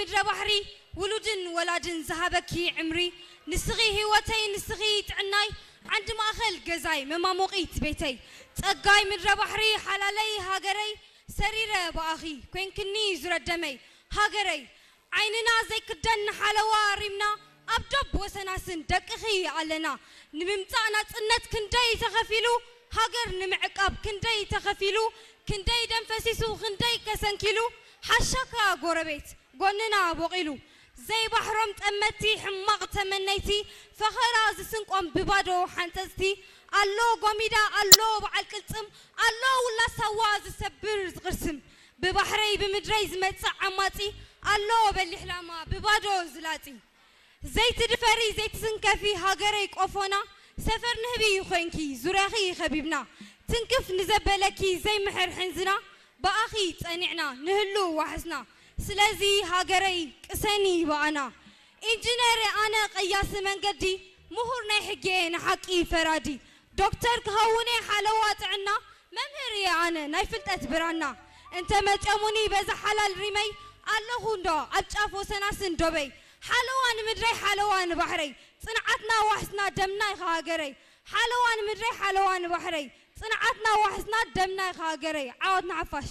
ምድረ ባሕሪ ውሉድን ወላድን ዝሃበኪ ዕምሪ፣ ንስኺ ህይወተይ ንስኺ ጥዕናይ፣ ዓንዲ ማእኸል ገዛይ መማሞቒት ቤተይ፣ ጸጋይ ምድረ ባሕሪ ሓላለይ ሃገረይ፣ ሰሪረ ብኣኺ ኮይንክኒ ዙረደመይ ሃገረይ። ዓይንና ዘይክደን ንሓለዋ ሪምና፣ ኣብ ዶብ ወሰናስን ደቅኺ ኣለና። ንምምጻእ ናጽነት ክንደይ ተኸፊሉ፣ ሃገር ንምዕቃብ ክንደይ ተኸፊሉ፣ ክንደይ ደም ፈሲሱ ክንደይ ከሰንኪሉ፣ ሓሻካ ጎረቤት ጎንና ቦቒሉ። ዘይባሕሮም ጠመቲ ሕማቕ ተመነይቲ፣ ፈኸራ ዝስንቆም ብባዶ ሓንጸጽቲ። ኣሎ ጎሚዳ ኣሎ በዓል ቅልጽም፣ ኣሎ ውላሳዋ ዝሰብር ዝቕርስም። ብባሕረይ ብምድረይ ዝመጽእ ዓማጺ፣ ኣሎ በሊሕ ላማ ብባዶ ዝላጺ። ዘይትድፈሪ ዘይትስንከፊ ሃገረይ ቆፎና፣ ሰፈር ንህቢ ኮይንኪ ዙርያኺ ከቢብና። ትንክፍ ንዘበለኪ ዘይምሕር ሕንዝና፣ ብኣኺ ጸኒዕና ንህሉ ዋሕስና። ስለዚ ሃገረይ ቅሰኒ ብኣና። ኢንጂነር ኣነ ቀያሲ መንገዲ፣ ምሁር ናይ ሕጊ ንሓቂ ፈራዲ። ዶክተር ክኸውነ ሓለዋ ጥዕና፣ መምህር እየ ኣነ ናይ ፍልጠት ብራና። እንተ መጨሙኒ በዛ ሓላል ሪመይ፣ ኣለኹ እንዶ ኣብ ጫፍ ወሰናስን ዶበይ። ሓለዋ ንምድረይ ሓለዋ ንባሕረይ፣ ጽንዓትና ዋሕስና ደምና ኢኻ ሃገረይ። ሓለዋ ንምድረይ ሓለዋ ንባሕረይ፣ ጽንዓትና ዋሕስና ደምና ኢኻ ሃገረይ። ዓወት ንሓፋሽ።